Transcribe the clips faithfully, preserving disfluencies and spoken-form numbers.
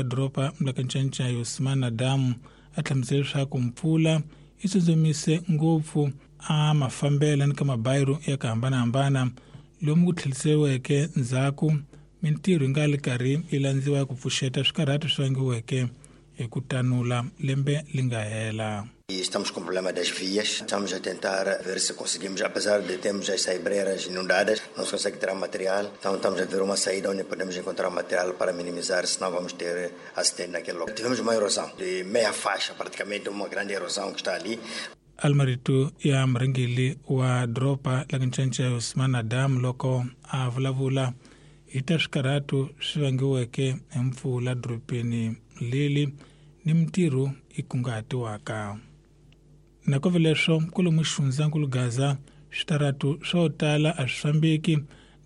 Doroba la Kancancayi Osman Adamu a hlamusela leswaku mpfula yi tsutsumise ngopfu a mafambelo ni ka mabayiro ya ku hambanahambana lomu ku tlheriseriweke ndzhaku mintirho yi nga le karhi yi landziwa ku pfuxeta swikarhato swi vangiweke hi ku tanula lembe li nga hela. Estamos com o problema das vias, estamos a tentar ver se conseguimos, apesar de termos as saibreiras inundadas, não se consegue tirar material, então estamos a ver uma saída onde podemos encontrar material para minimizar, senão vamos ter acidente naquele local. Tivemos uma erosão de meia faixa, praticamente uma grande erosão que está ali. Almarito ya murhangeri wa doroba la Kancancayi Osman Adamu loko a vulavula hi ta swikarhato swi vangiweke hi mpfula dorobeni leli ni mintirho yi kunguhatiwaka. Nakove leswo kwalomu xifundzankulu Gaza switaratu swo tala a swi fambeki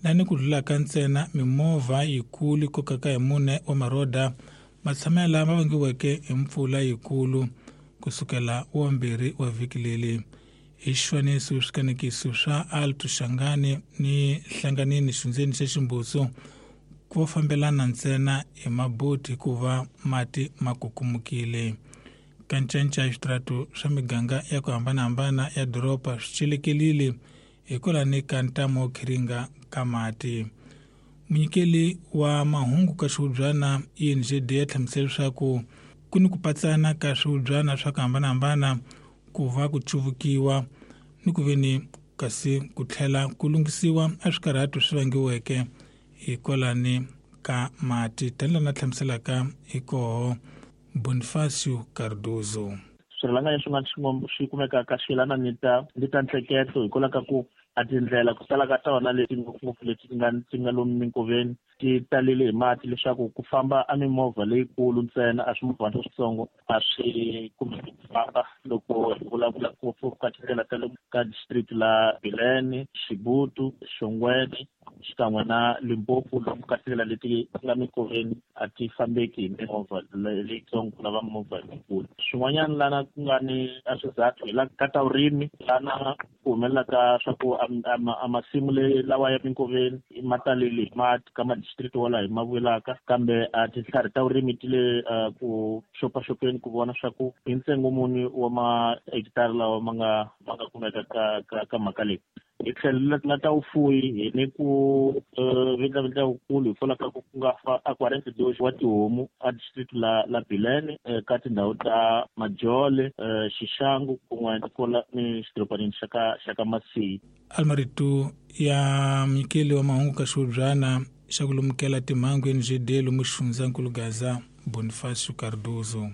lani ku dlulaka ntsena mimovha yikulu yi kokaka hi mune wa maroda matshamelo lama vangiweke hi mpfula yikulu kusukela wa mbirhi wa vhiki leri. Hi xifaniso swikanekiso swa Alto Shangani ni Hlanganini xindzeni xa Ximbuso ku fambelana ntsena hi maboti hikuva mati ma kukumukile. Kancancayi switaratu swa miganga ya ku hambanahambana ya doroba swi celekelile hikwalaho ka ntamu wo khiringa ka mati. Munyikeli wa mahungu ka xihubyana I N G D ya hlamusela leswaku ku ni ku patsana ka swihubyana swa ku hambanahambana ku va ku cuvukiwa ni ku veni kasi ku tlhela ku lunghisiwa a swikarhato swi vangiweke hikwalaho ka mati tanihi na hlamuselaka hi koho Bonifacio Cardozo. Swirhalanganyi swin'wana swin'wana swi kumekaka swi yelana ni ta ni ta ntsheketo hikwalaho ka ku a tindlela ku tala ka tona leti ngopfungopfu leti ti nga ti nga lomu minkoveni ti talele hi mati leswaku ku famba a mimovha leyikulu ntsena a swimovhana switsongo a swi kumeki ku famba loko hi vulavula ngopfu ka tindlela ta le ka district la Bilene, Xibutu, Xongweni xikan'we na Limpopo lomu ka tindlela leti ti nga minkoveni a ti fambeki hi mimovha leyitsongo ku lava mimovha leyikulu. Swin'wanyana lana ku nga ni a swizathu hi la ka ta vurimi lana ku humelelaka swa ku a masimu le lawa ya minkoveni ma talele hi mati ka madistrict wala hi ma vulaka kambe a tintlhari ta vurimi ti le ku xopaxopeni ku vona swa ku hi ntsengo muni wa mahekitara lawa ma nga ma nga kumeka ka ka ka mhaka leyi. Hi tlhelo la ta vufuwi hi ni ku vindlavindla wukulu hi pfula ka ku nga fa a quarante dos wa tihomu a district la la Bilene ka tindhawu ta Majole, Xixangu kun'we ni ni xidorobanini xa ka xa ka Masiyi. Almarito ya munyikeli wa mahungu ka xihubyana xa ku lumukela timhangu N G D lomu xifundzankulu Gaza Bonifacio Cardozo.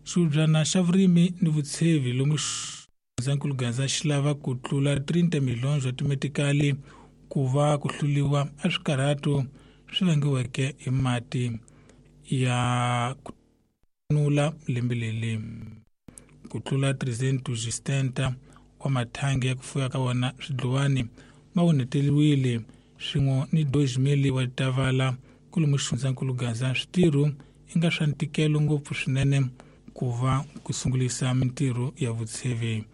Xihubyana xa vurimi ni vutshevi lomu xifundzankulu Gaza xi lava ku tlula trinta milhões wa timetikali ku va ku hluliwa a swikarhato swi vangiweke hi mati ya ku nula lembe leri. Ku tlula trezentos e setenta wa mathangi ya ku fuya ka wona swidluwani ma onheteriwile swin'we ni dois mil wa tavala kwalomu xifundzankulu Gaza. Switirho i nga swa ntikelo ngopfu swinene ku va ku sungulisa mintirho ya vutshevi.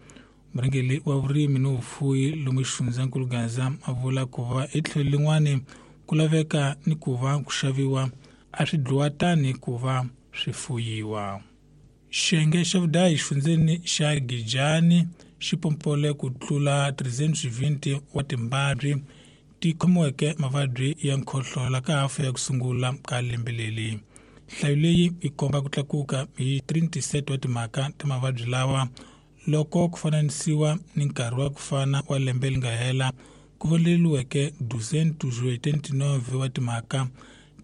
Murhangeri wa vurimi ni vufuwi lomu xifundzankulu Gaza a vula ku va hi tlhelo lin'wani ku laveka ni ku va ku xaviwa a swi dluwa tani ku va swi fuyiwa. Xiyenge xa vudayi xifundzeni xa Gijani xi pompole ku tlula trezentos e vinte wa timbabyi ti khomiweke mavabyi ya nkhohlola ka hafu ya ku sungula ka lembe leri. Nhlayo leyi yi komba ku tlakuka hi trinta e sete wa timhaka ta mavabyi lawa loko ku fananisiwa ni nkarhi wa ku fana wa lembe leri nga hela ku voneriweke duzentos e oitenta e nove wa timhaka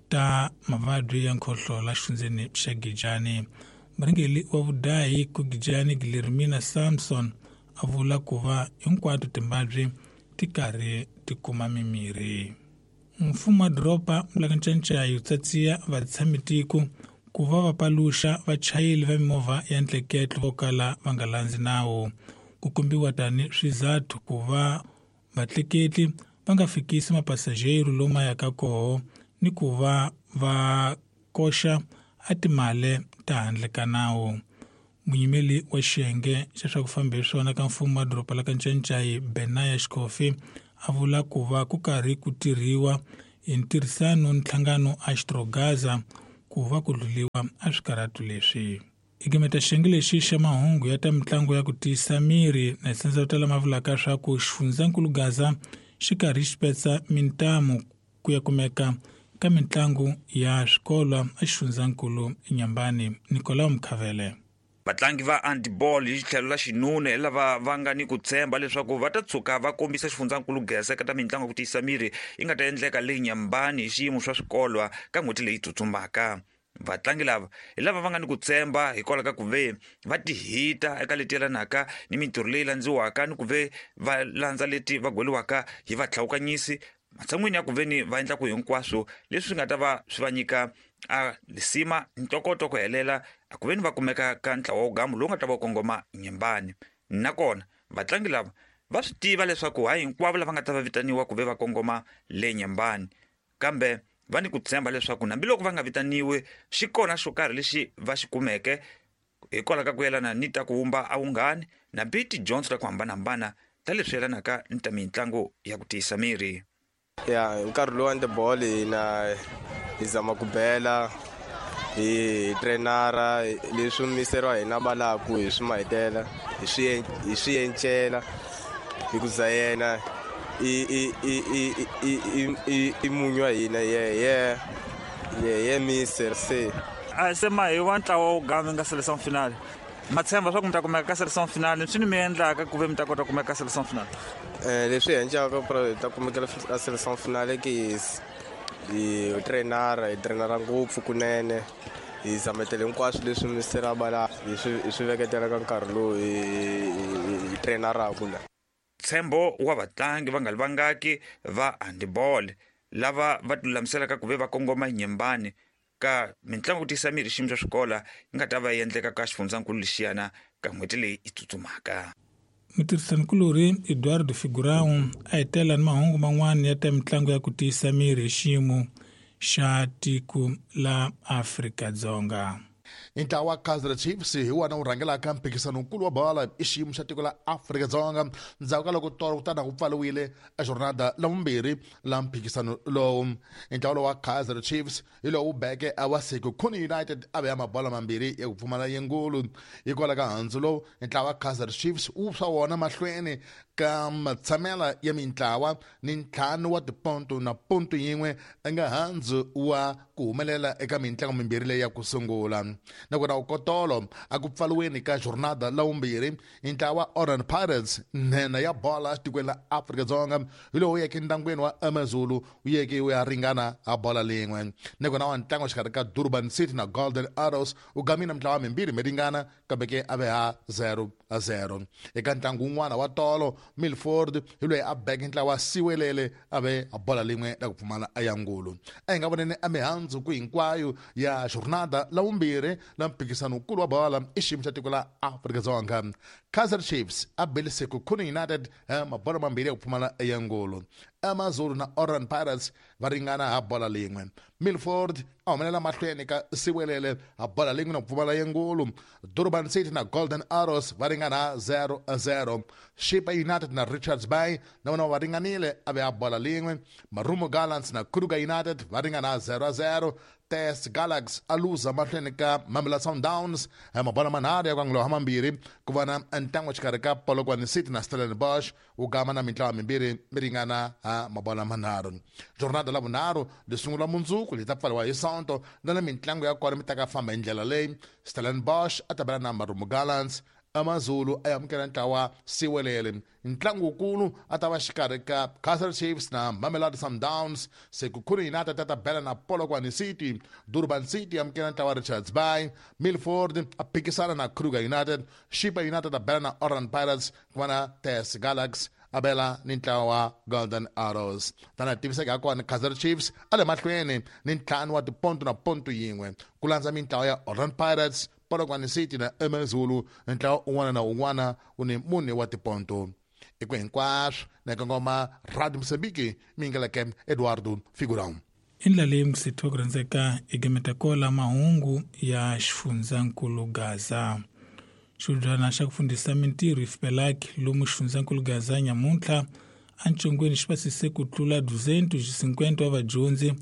ta mavabyi ya nkhohlola xifundzeni xa Gijani. Murhangeri wa vudahi ku Gijani Guilhermina Samson a vula ku va hinkwato timbabyi ti karhi ti kuma mimirhi. Mfumo wa doroba la Kancancayi wu tsatsiya vatshamitiko ku va va paluxa vachayeri va mimovha ya ntleketlo vo kala va nga landzi nawu. Ku kombiwa tani swizathu ku va vatleketli va nga fikisi mapasajero lomu yaka koho ni ku va va koxa a timali ta handle ka nawu. Munyimeli wa xiyenge xa swa ku famba hi swona ka mfumo wa doroba la Kancancayi Benaya Xikofi a vula ku va ku karhi ku tirhiwa hi ntirhisano ni nhlangano Astrogaza ku va ku dluliwa a swikarhatu leswi. Igimeta xiyenge lexi xa mahungu ya ta mitlangu ya ku tiyisa miri na tsandza tala ma vulaka swa ku xifundzankulu Gaza xi karhi xi petsa mintamu ku ya kumeka ka mitlangu ya swikolo a xifundzankulu Nyambani. Nicolau Mkhavele. Vatlangi va handball hi tlhelo la xinuna hi lava va nga ni ku tshemba leswaku va ta tshuka va kombisa xifundzankulu Gaza eka ta mitlangu ya ku tiyisa miri yi nga ta endleka le Nyambani hi xiyimo swa swikolwa ka n'hweti leyi tsutsumbaka. Vatlangi lava hi lava va nga ni ku tshemba hikwalaho ka ku ve va tihita eka leti yelanaka ni mintirho leyi landziwaka ni ku ve va landza leti va gweliwaka hi vatlhawukanyisi matshan'wini ya ku ve ni va endla ku hinkwaswo leswi nga ta va swi va nyika a lisima ntokoto ku helela a ku ve ni va kumeka ka ntlawa wo gamu lowu nga ta va kongoma Nyambani. Nakona vatlangi lava va swi tiva leswaku hayi hinkwavo lava nga ta va vitaniwa ku ve va kongoma le Nyambani, kambe va ni ku tshemba leswaku hambiloko va nga vitaniwi xi kona xo karhi lexi va xi kumeke hikwalaho ka ku yelana ni ta ku wumba a vunghani nambi tidyondzo ta ku hambanahambana ta leswi yelanaka ni ta mitlangu ya ku tiyisa miri. Ya hi nkarhi lowu handball hina hi zama ku bela hi trainara leswi misero wa hina valaku hi swi mahetela hi swi hi swi encela hi ku za yena i i i i i i i munyu wa hina ye ye ye ye mister se a se ma hi wa ntlawa wo gama nga selection finale ma tshemba swa ku mi ta kumeka ka selection finale swi ni mi endlaka ku ve mi ta kota ku kumeka ka selection finale. Eh leswi endlaka ku ta kumeka ka selection finale ke hi trainara hi trainara ngopfu kunene hi zametele hinkwaswo leswi mister a bala hi swi hi swi veketela ka nkarhi lowu hi hi trainaraka la. Ntshembo wa vatlangi va nga li vangaki va handball lava va tilulamiselaka ku ve va kongoma Nyambani ka mitlangu ku tiyisa miri xiyimo xa swikola yi nga ta va yi endleka ka xifundzankulu lexiyana ka n'hweti leyi yi tsutsumaka. Mutirhisanikulorhi Eduardo Figurão a hetela ni mahungu man'wana ya ta mitlangu ya ku tiyisa miri hi xiyimo xa tiko la Afrika-Dzonga. Ntlawa wa Kaizer Chiefs hi wona wu rhangelaka mphikizano-nkulu wa bolo i xiyimo xa tiko la Afrika-Dzonga ndzhaku ka loko tolo kutani ku pfariwile a jornada la vumbirhi la mphikizano lowu. Ntlawa lowu wa Kaizer Chiefs hi lowu beke a wa Sekhukhune United a ve ya mabolo mambirhi ya ku pfumala yingulu. Hikwalaho ka handzu lowu ntlawa wa Kaizer Chiefs wu swa wona mahlweni ka matshamela ya mintlawa ni ntlhanu wa tiponto na ponto yin'we nga handzu wa ku humelela eka mintlangu mimbirhi leyi ya ku sungula. Nakona ukotolo a ku pfaliweni ka jornada la vumbirhi ntlawa Orlando Pirates nhenha ya bola etikweni la Afrika-Dzonga hi lowu yeke ndyangwini wa AmaZulu wu yeke wu ya ringana ha bola lin'we. Nakona wa ntlangu exikarhi ka Durban City na Golden Arrows wu gamile mintlawa mimbirhi mi ringana kambe ke a ve ha zero a zero. Eka ntlangu wun'wana wa tolo Milford hi loyi a beke ntlawa wa Siwelele a ve a bola lin'we la ku pfumala a ya ngulu. A hi nga voneni a mihandzu ku hinkwayo ya jornada la vumbirhi la mphikizano-nkulu wa bola i xiyimo xa tiko la Afrika-Dzonga. Kaizer Chiefs a bele Sekhukhune United mabolo mambirhi ya ku pfumala ya ngulu. AmaZulu na Orlando Pirates va ringana ha bola lin'we. Milford a humelela mahlweni ka Siwelele ha bola lin'we na ku pfumala ya ngulu. Durban City na Golden Arrows va ringana ha zero a zero. Chippa United na Richards Bay na vona va ringanile a ve ha bola lin'we. Marumo Gallants na Kruger United va ringana ha zero a zero. T S Galaxy a luza mahlweni ka Mamelodi Sundowns mabolo manharhu ya ku angula ha mambirhi ku va na ntlangu exikarhi ka Polokwane City na Stellenbosch wu gama na mintlawa mimbirhi mi ringana ha mabolo manharhu. Jornada la vunharhu li sungula mundzuku li ta pfariwa hi Sonto na na mintlangu ya kona mi ta ka famba hi ndlela leyi. Stellenbosch a ta bela na Marumo Gallants, AmaZulu a amukela ntlawa Siwelele. Ntlangu wukulu a ta va xikarhi ka Kaizer Chiefs na Mamelodi Sundowns. Sekhukhune United ta ta bela na Polokwane City. Durban City amukela ntlawa Richards Bay. Milford a phikisana na Kruger United. Chippa United a bela na Orlando Pirates ku va na T S Galaxy a bela ni ntlawa wa Golden Arrows. Tana tiviseka kona Kaizer Chiefs a le mahlweni ni ntlhanu wa tiponto na ponto yin'we ku landza mintlawa ya Orlando Pirates, Polokwane City na AmaZulu. Ntlawa un'wana na un'wana wu ni mune wa tiponto. I ku hinkwaswo na kongoma Radio Mozambique mingeleke Eduardo Figurão. I ndlela leyi msitho ku rhandzeka egemetakola mahungu ya xifundzankulu Gaza. Xidyana xa ku fundisa mintirho IFPELAC lomu xifundzankulu Gaza nyamuntlha encongweni xi pasise ku tlula duzentu cinquenta wa vadyondzi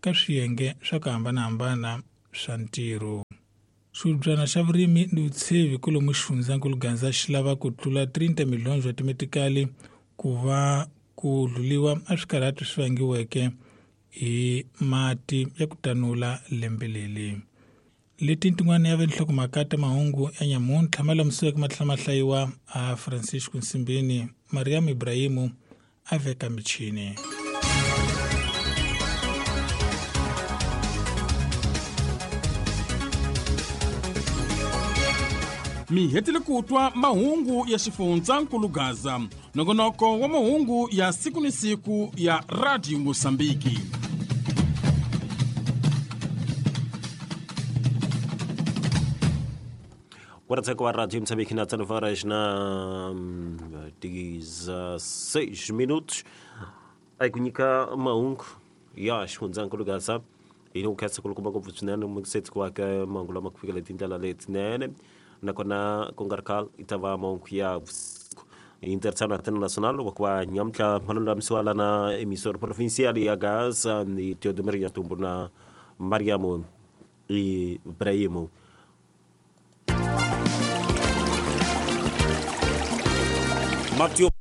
ka swiyenge swa ku hambanahambana swa ntirho. Xiubyana xa vurimi ni vutshevi kwalomu xifundzankulu Gaza xi lava ku tlula thirty milhoni bya timetikali ku va ku dluliwa a swikarhati swi vangiweke hi mati ya ku tanula lembe leri. Leti tin'wana ya vinhlokomhaka ta mahungu ya nyamuntlha ma lamusiweke ma tlhela ma hlayiwa a Francisco Nsimbini, Mariam Ibrahimu a veka michini. Mi hetile ku twa mahungu ya xifundzankulu Gaza, nongonoko wa mahungu ya siku ni siku ya Radio Mosambiki. Quarta Radio Moçambique na nove horas na dezesseis minutos. Aí kunyika mahungu ya xifundzankulu Gaza ino khetsa ku kuma ngopfu swinene muksetsi ku aka mahungu lama ku fikela tindlela letinene nakona ku nga ri khale i ta va mahungu ya vusiku internacional wa kwa nyamuntlha ma lulamisiwa lana emisora provincial ya Gaza ni Teodomiro Nyatumbu na Mariamo Ibrahimu. Mathieu